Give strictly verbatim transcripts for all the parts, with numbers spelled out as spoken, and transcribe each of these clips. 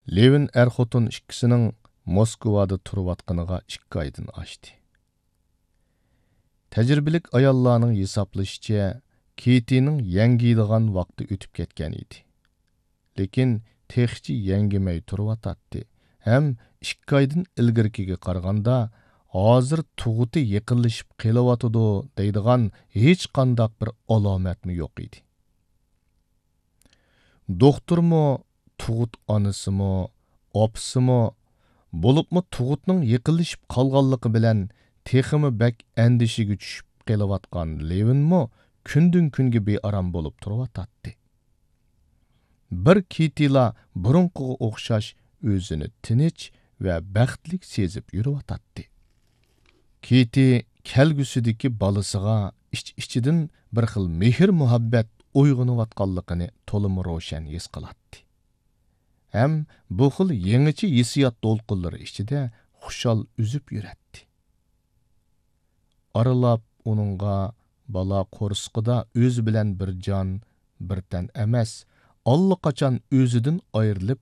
لېۋىن ئەر-خوتۇن ئىككىسىنىڭ موسكۋادا تۇرۇۋاتقىنىغا ئىككى ئايدىن ئاشتى. تەجرىبىلىك ئاياللارنىڭ ھېسابلىشىچە، كېتىنىڭ يەڭگىيدىغان ۋاقتى ئۆتۈپ كەتكەن ئىدى. لېكىن تېخىچە يەڭگىمەي تۇرۇۋاتاتتى ھەم ئىككى ئايدىن ئىلگىرىكىگە قارىغاندا، ھازىر تۇغۇتى يېقىنلىشىپ قېلىۋاتىدۇ دەيدىغان ھېچقانداق بىر ئالامەتمۇ يوق ئىدى. دوختۇرمۇ، تۇغۇت ئانىسىمۇ، ئاپىسىمۇ، بولۇپمۇ تۇغۇتنىڭ يېقىنلىشىپ قالغانلىقى بىلەن تېخىمۇ بەك ئەندىشىگە چۈشۈپ قېلىۋاتقان لېۋىنمۇ كۈندىن-كۈنگە بىئارام بولۇپ تۇرۇۋاتاتتى. بىر كېتىلا بۇرۇنقىغا ئوخشاش ئۆزىنى تىنچ ۋە بەختلىك سېزىپ يۈرۈۋاتاتتى. كېتى كەلگۈسىدىكى بالىسىغا ئىچ-ئىچىدىن بىر خىل مېھىر-مۇھەببەت ئويغىنىۋاتقانلىقىنى تولىمۇ روشەن ھېس قىلاتتى. ھەم بۇ خىل يېڭىچە ھېسسىيات دولقۇنلىرى ئىچىدە خۇشال ئۈزۈپ يۈرەتتى. ئارىلاپ ئۇنىڭغا بالا قورسىقىدا ئۆزى بىلەن بىر جان، بىر تەن ئەمەس، ئاللىقاچان ئۆزىدىن ئايرىلىپ،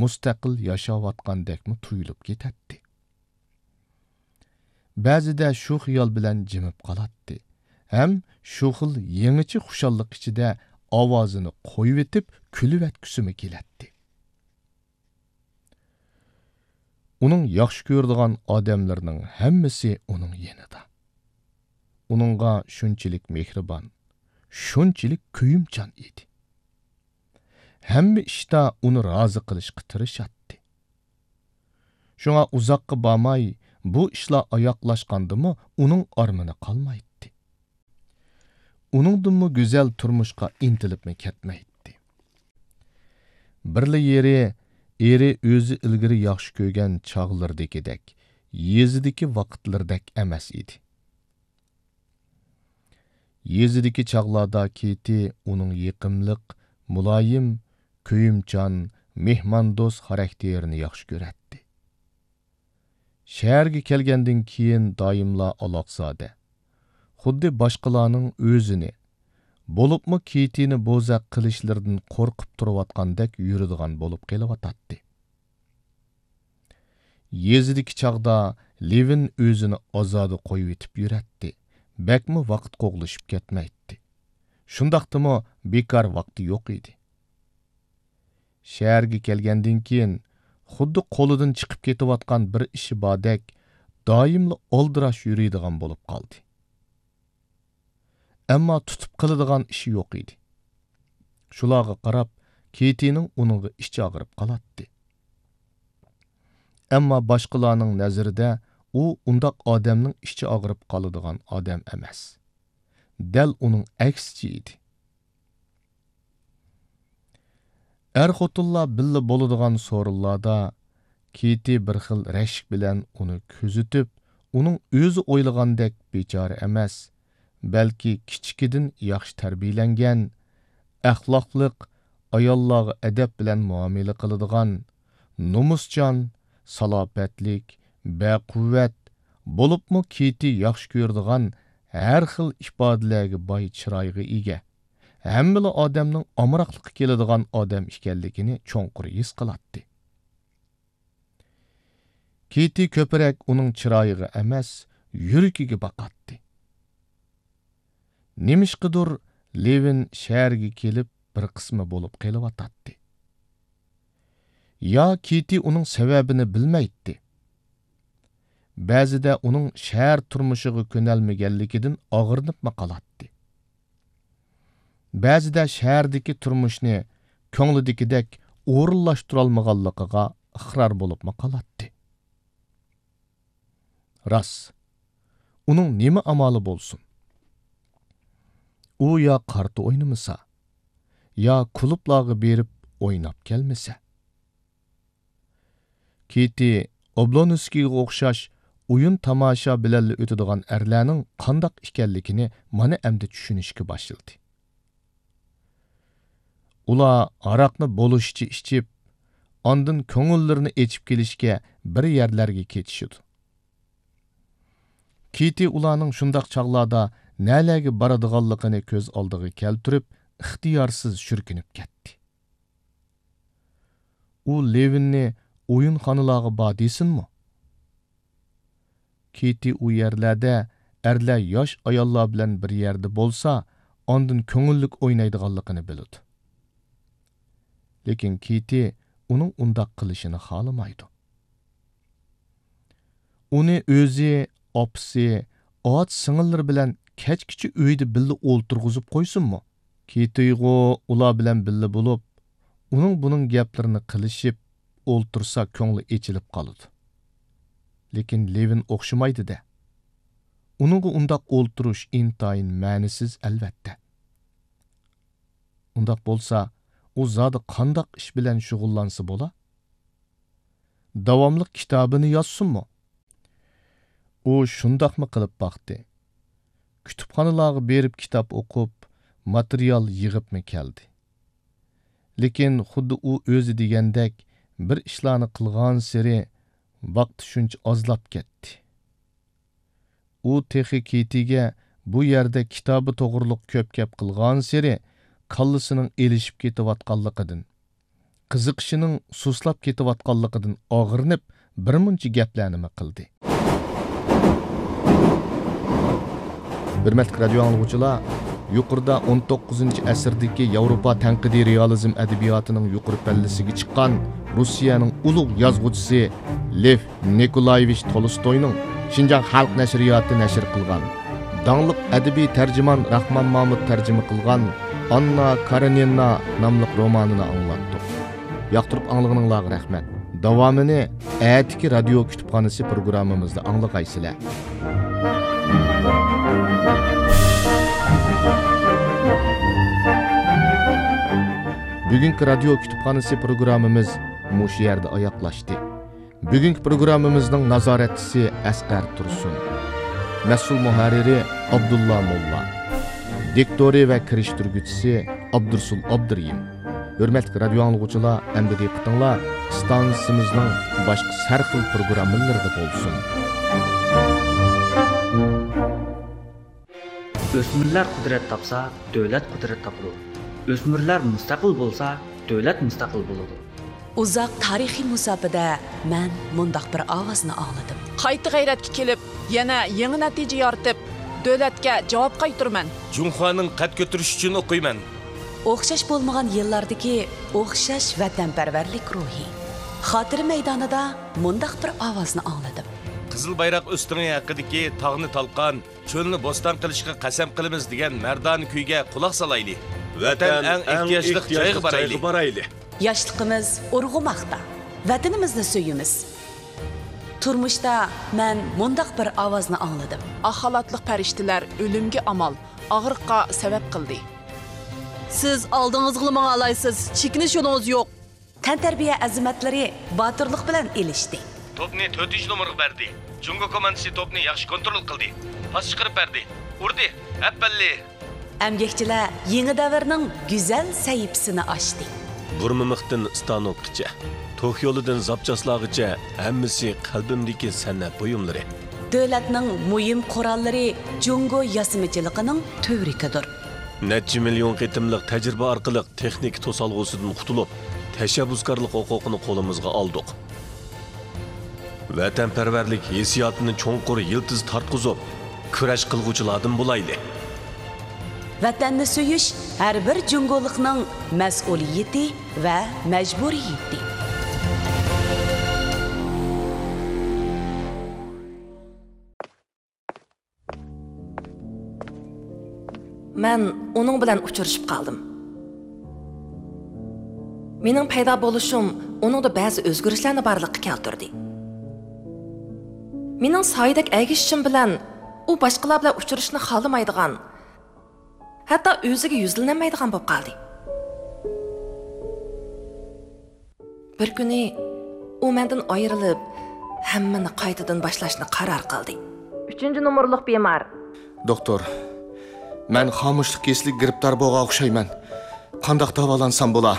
مۇستەقىل ياشاۋاتقاندەكمۇ تۇيۇلۇپ كېتەتتى. بەزىدە شۇ خىيال بىلەن جىمىپ قالاتتى ھەم شۇ خىل يېڭىچە خۇشاللىق ئىچىدە ئاۋازىنى قويۇۋېتىپ كۈلۈۋەتكۈسىمۇ كېلەتتى. ئۇنىڭ ياخشى كۆرىدىغان ئادەملىرىنىڭ ھەممىسى ئۇنىڭ يېنىدا. ئۇنىڭغا شۇنچىلىك مېھرىبان، شۇنچىلىك كۆيۈمچان ئىدى. ھەممە ئىشتا ئۇنى رازى قىلىشقا تىرىشاتتى. شۇڭا ئۇزاققا بارماي، بۇ ئىشلار ئاياغلاشقاندىمۇ ئۇنىڭ ئارمىنى قالمايتتى. ئۇنىڭدىنمۇ گۈزەل تۇرمۇشقا ئىنتىلىپمۇ كەتمەيتتى. بىرلا يېرى، ئېرى ئۆزى ئىلگىرى ياخشى كۆرگەن چاغلىرىدىكىدەك، يېزىدىكى ۋاقىتلىرىدەك ئەمەس ئىدى. يېزىدىكى چاغلاردا كېتى ئۇنىڭ يېقىملىق، مۇلايىم، كۆيۈمچان، مېھماندوست خاراكتېرىنى ياخشى كۆرەتتى. شەھەرگە كەلگەندىن كېيىن دائىملا ئالاقزادە، خۇددى باشقىلارنىڭ ئۆزىنى، بولۇپمۇ كېتىنى بوزەك قىلىشلىرىدىن قورقۇپ تۇرۇۋاتقاندەك يۈرىدىغان بولۇپ قېلىۋاتاتتى. يېزىدىكى چاغدا لېۋىن ئۆزىنى ئازادە قويۇۋېتىپ يۈرەتتى، بەكمۇ ۋاقىت قوغلىشىپ كەتمەيتتى. شۇنداقتىمۇ بىكار ۋاقتى يوق ئىدى. شەھەرگە كەلگەندىن كېيىن، خۇددى قولىدىن چىقىپ كېتىۋاتقان بىر ئىشى باردەك، دائىملا ئالدىراش يۈرىدىغان بولۇپ قالدى. ئەمما تۇتۇپ قىلىدىغان ئىشى يوق ئىدى. شۇلارغا قاراپ، كېتىنىڭ ئۇنىڭغا ئىچى ئاغرىپ قالاتتى. ئەمما باشقىلارنىڭ نەزىرىدە ئۇ ئۇنداق ئادەمنىڭ ئىچى ئاغرىپ قالىدىغان ئادەم ئەمەس. دەل ئۇنىڭ ئەكسىچە ئىدى. ئەر-خوتۇنلار بىللە بولىدىغان سورۇنلاردا كېتى بىر خىل رەشك بىلەن ئۇنى كۆزىتىپ، ئۇنىڭ ئۆزى ئويلىغاندەك بىچارە ئەمەس، بەلكى كىچىكىدىن ياخشى تەربىيەلەنگەن، ئەخلاقلىق، ئاياللارغا ئەدەپ بىلەن مۇئامىلە قىلىدىغان، نومۇسچان، سالاپەتلىك، بەقۇۋۋەت، بولۇپمۇ كېتى ياخشى كۆرىدىغان ھەر خىل ئىپادىلەرگە باي چىرايغا ئىگە، ھەممىلا ئادەمنىڭ ئامراقلىقى كېلىدىغان ئادەم ئىكەنلىكىنى چوڭقۇر ھېس قىلاتتى. كېتى كۆپرەك ئۇنىڭ چىرايىغا ئەمەس، يۈرىكىگە باقاتتى. نېمىشقىدۇر لېۋىن شەھەرگە كېلىپ بىر قىسمى بولۇپ قېلىۋاتاتتى. يا كېتى ئۇنىڭ سەۋەبىنى بىلمەيتتى. بەزىدە ئۇنىڭ شەھەر تۇرمۇشىغا كۆنەلمىگەنلىكىدىن ئاغرىنىپمۇ قالاتتى. بەزىدە شەھەردىكى تۇرمۇشنى كۆڭلىدىكىدەك ئورۇنلاشتۇرالمىغانلىقىغا ئىقرار بولۇپمۇ قالاتتى. راست، ئۇنىڭ نېمە ئامالى بولسۇن؟ ئۇ يا قارتا ئوينىمىسا، يا كۇلۇبلارغا بېرىپ ئويناپ كەلمىسە. كېتى ئوبلونسكىيغا ئوخشاش ئويۇن-تاماشا بىلەنلا ئۆتىدىغان ئەرلەرنىڭ قانداق ئىكەنلىكىنى مانا ئەمدى چۈشىنىشكە باشلىدى. ئۇلار ھاراقنى بولۇشىچە ئىچىپ، ئاندىن كۆڭۈللىرىنى ئېچىپ كېلىشكە بىر يەرلەرگە كېتىشىدۇ. كېتى ئۇلارنىڭ شۇنداق چاغلاردا نەلەرگە بارىدىغانلىقىنى كۆز ئالدىغا كەلتۈرۈپ، ئىختىيارسىز شۈركۈنۈپ كەتتى. ئۇ لېۋىننى ئويۇنخانىلارغا بار دېسۇنمۇ؟ كېتى ئۇ يەرلەردە ئەرلەر ياش ئاياللار بىلەن بىر يەردە بولسا، ئاندىن كۆڭۈللۈك ئوينايدىغانلىقىنى بىلىدۇ. لېكىن كېتى ئۇنىڭ ئۇنداق قىلىشىنى خالىمايدۇ. ئۇنى ئۆزى، ئاپىسى، ئاچا سىڭىللىرى بىلەن كەچكىچە ئۆيدە بىللە ئولتۇرغۇزۇپ قويسۇنمۇ؟ كېتىغۇ ئۇلار بىلەن بىللە بولۇپ، ئۇنىڭ بۇنىڭ گەپلىرىنى قىلىشىپ ئولتۇرسا كۆڭلى ئېچىلىپ قالىدۇ. لېكىن لېۋىن ئوخشىمايدۇ-دە. ئۇنىڭغا ئۇنداق ئولتۇرۇش ئىنتايىن مەنىسىز ئەلۋەتتە. ئۇنداق بولسا، ئۇ زادى قانداق ئىش بىلەن شۇغۇللانسا بولا؟ داۋاملىق كىتابىنى يازسۇنمۇ؟ ئۇ شۇنداقمۇ قىلىپ باقتى. كۇتۇپخانىلارغا بېرىپ كىتاب ئوقۇپ، ماتېرىيال يىغىپمۇ كەلدى. لېكىن خۇددى ئۇ ئۆزى دېگەندەك بىر ئىشلارنى قىلغانسېرى ۋاقتى شۇنچە ئازلاپ كەتتى. ئۇ تېخى كېتىگە بۇ يەردە كىتابى توغرۇلۇق كۆپ گەپ قىلغانسېرى كاللىسىنىڭ ئېلىشىپ كېتىۋاتقانلىقىدىن، قىزىقىشىنىڭ سۇسلاپ كېتىۋاتقانلىقىدىن ئاغرىنىپ، بىرمۇنچە گەپلەرنىمۇ قىلدى. ھۆرمەتلىك رادىيو ئاڭلىغۇچىلار، يۇقىرىدا ئون توققۇزىنچى ئەسىردىكى ياۋروپا تەنقىدىي رېئالىزم ئەدەبىياتىنىڭ يۇقىرى پەللىسىگە چىققان روسىيەنىڭ ئۇلۇغ يازغۇچىسى لېف نىكولايېۋىچ تولستوينىڭ شىنجاڭ خەلق نەشرىياتى نەشر قىلغان، داڭلىق ئەدەبىي تەرجىمان راخمان مامۇت تەرجىمە قىلغان ئاننا كارېنىنا ناملىق رومانىنى ئاڭلاتتۇق. ياقتۇرۇپ ئاڭلىغىنىڭلارغا رەھمەت. داۋامىنى ئەتىكى رادىيو كۇتۇپخانىسى پروگراممىمىزدا ئاڭلىغايسىلەر. بۈگۈنكى رادىيو كۇتۇپخانىسى پروگراممىمىز مۇشۇ يەردە ئاياغلاشتى. بۈگۈنكى پروگراممىمىزنىڭ نازارەتچىسى ئەسقەر تۇرسۇن. مەسئۇل مۇھەررىرى ئابدۇللا موللا. دىكتورى ۋە كىرىشتۈرگۈچىسى ئابدۇرسۇل ئابدۇرېھىم. ھۆرمەتلىك رادىيو ئاڭلىغۇچىلار، ئەمدى دىققىتىڭلار ئىستانسىمىزنىڭ باشقا سەرخىل پروگراممىلىرىدا بولسۇن. ئۆسمۈرلەر قۇدرەت تاپسا، دۆلەت قۇدرەت تاپىدۇ. ئۆسمۈرلەر مۇستەقىل بولسا، دۆلەت مۇستەقىل بولىدۇ. ئۇزاق تارىخىي مۇساپىدە مەن مۇنداق بىر ئاۋازنى ئاڭلىدىم. قايتا غەيرەتكە كېلىپ، يەنە يېڭى نەتىجە يارىتىپ، دۆلەتكە جاۋاب قايتۇرىمەن. جۇڭخۇانىڭ قەد كۆتۈرۈشى ئۈچۈن ئوقۇيمەن. ئوخشاش بولمىغان يىللاردىكى ئوخشاش ۋەتەنپەرۋەرلىك روھى. خاتىرە مەيدانىدا مۇنداق بىر ئاۋازنى ئاڭلىدىم. قىزىل بايراق ئۆستىڭى ھەققىدىكى تاغنى تالقان، چۆلنى بوستان قىلىشقا قەسەم قىلىمىز دېگەن مەردانە كۈيگە قۇلاق سالايلى. ۋەتەن ئەڭ ئېھتىياجلىق جايغا بارايلى. ياشلىقىمىز ئۇرغۇماقتا. ۋەتىنىمىزنى سۆيىمىز. تۇرمۇشتا مەن مۇنداق بىر ئاۋازنى ئاڭلىدىم. ئاق خالاتلىق پەرىشتىلەر ئۆلۈمگە ئامال، ئاغرىققا سەۋەب قىلدى. سىز ئالدىڭىزغىلا ماڭالايسىز، چېكىنىش يولىڭىز يوق. تەنتەربىيە ئەزىمەتلىرى باتۇرلۇق بىلەن ئېلىشتى. توپنى تۆتىنچى نومۇرغا بەردى. جۇڭگو كوماندىسى توپنى ياخشى كونترول قىلدى. پاس چىقىرىپ بەردى. ئۇردى. ئەپەللى! ئەمگەكچىلەر يېڭى دەۋرنىڭ گۈزەل سەھىپىسىنى ئاچتى. بۇرمىمىقتىن ستانوكقىچە، توك يولىدىن زاپچاسلارغىچە ھەممىسى قەلبىمدىكى سەنئەت بۇيۇملىرى. دۆلەتنىڭ مۇھىم قوراللىرى جۇڭگو ياسىمىچىلىقىنىڭ تۈۋرۈكىدۇر. نەچچە مىليون قېتىملىق تەجرىبە ئارقىلىق تېخنىكا توسالغۇسىدىن قۇتۇلۇپ، تەشەببۇسكارلىق ھوقۇقىنى قولىمىزغا ئالدۇق. ۋەتەنپەرۋەرلىك ھېسسىياتىنى چوڭقۇر يىلتىز تارتقۇزۇپ، كۈرەش قىلغۇچىلاردىن بولايلى. ۋەتەننى سۆيۈش ھەر بىر جۇڭگولۇقنىڭ مەسئۇلىيىتى ۋە مەجبۇرىيىتى. مەن ئۇنىڭ بىلەن ئۇچرىشىپ قالدىم. مېنىڭ پەيدا بولۇشۇم ئۇنىڭدا بەزى ئۆزگىرىشلەرنى بارلىققا كەلتۈردى. مېنىڭ سايىدەك ئەگىشىشىم بىلەن ئۇ باشقىلار بىلەن ئۇچرىشىشنى خالىمايدىغان، ھەتتا ئۆزىگە يۈزلىنەلمەيدىغان بولۇپ قالدى. بىر كۈنى ئۇ مەندىن ئايرىلىپ، ھەممىنى قايتىدىن باشلاشنى قارار قىلدى. ئۈچىنچى نومۇرلۇق بىمار. دوختۇر، مەن خامۇشلۇق كېسىلىگە گىرىپتار بولغان ئوخشايمەن. قانداق داۋالانسام بولا؟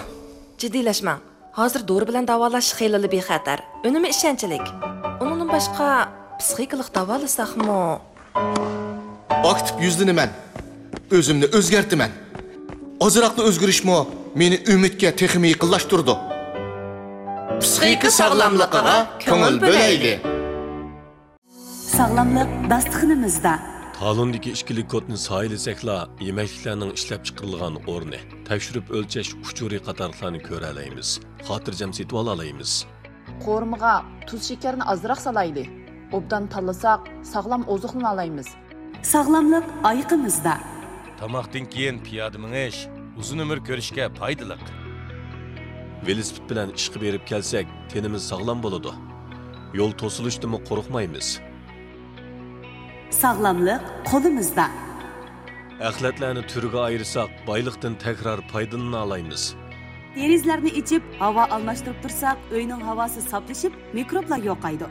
جىددىيلەشمەڭ. ھازىر دورا بىلەن داۋالاش خېلىلا بىخەتەر، ئۈنۈمى ئىشەنچلىك. ئۇنىڭدىن باشقا، پسىخىكىلىق داۋالىساقمۇ؟ ئاكتىپ يۈزلىنىمەن. ئۆزۈمنى ئۆزگەرتىمەن. ئازراقلا ئۆزگىرىشمۇ مېنى ئۈمىدكە تېخىمۇ يېقىنلاشتۇرىدۇ. پىسخىكا ساغلاملىقىغا كۆڭۈل بۆلەيلى. ساغلاملىق داستىخىنىمىزدا. تالوندىكى ئىككىلىك كودنى سايىلىسەكلا، يېمەكلىكلەرنىڭ ئىشلەپچىقىرىلغان ئورنى، تەكشۈرۈپ ئۆلچەش ئۇچۇرى قاتارلىقلارنى كۆرەلەيمىز، خاتىرجەم سېتىۋالالايمىز. قورۇمىغا تۇز شېكەرنى ئازراق سالايلى. ئوبدان تاللىساق، ساغلام ئوزۇقلىنالايمىز. ساغلاملىق ئايىقىمىزدا. تاماقتىن كېيىن پىيادە مېڭىش ئۇزۇن ئۆمۈر كۆرۈشكە پايدىلىق. ۋېلىسىپىت بىلەن ئىشقا بېرىپ كەلسەك، تېنىمىز ساغلام بولىدۇ. يول توسۇلۇشتىنمۇ قورقمايمىز. ساغلاملىق قولىمىزدا. ئەخلەتلەرنى تۈرگە ئايرىساق، بايلىقتىن تەكرار پايدىلىنالايمىز. دېرىزىلەرنى ئېچىپ، ھاۋا ئالماشتۇرۇپ تۇرساق، ئۆينىڭ ھاۋاسى ساپلىشىپ، مىكروبلار يوقايدۇ.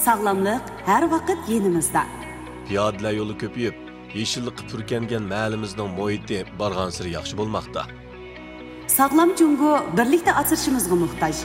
ساغلاملىق ھەر ۋاقىت يېنىمىزدا. پىيادىلەر يولى كۆپىيىپ، يېشىللىققا پۈركەنگەن مەھەللىمىزنىڭ مۇھىتى بارغانسېرى ياخشى بولماقتا. ساغلام جۇڭگو بىرلىكتە ئاسرىشىمىزغا موھتاج.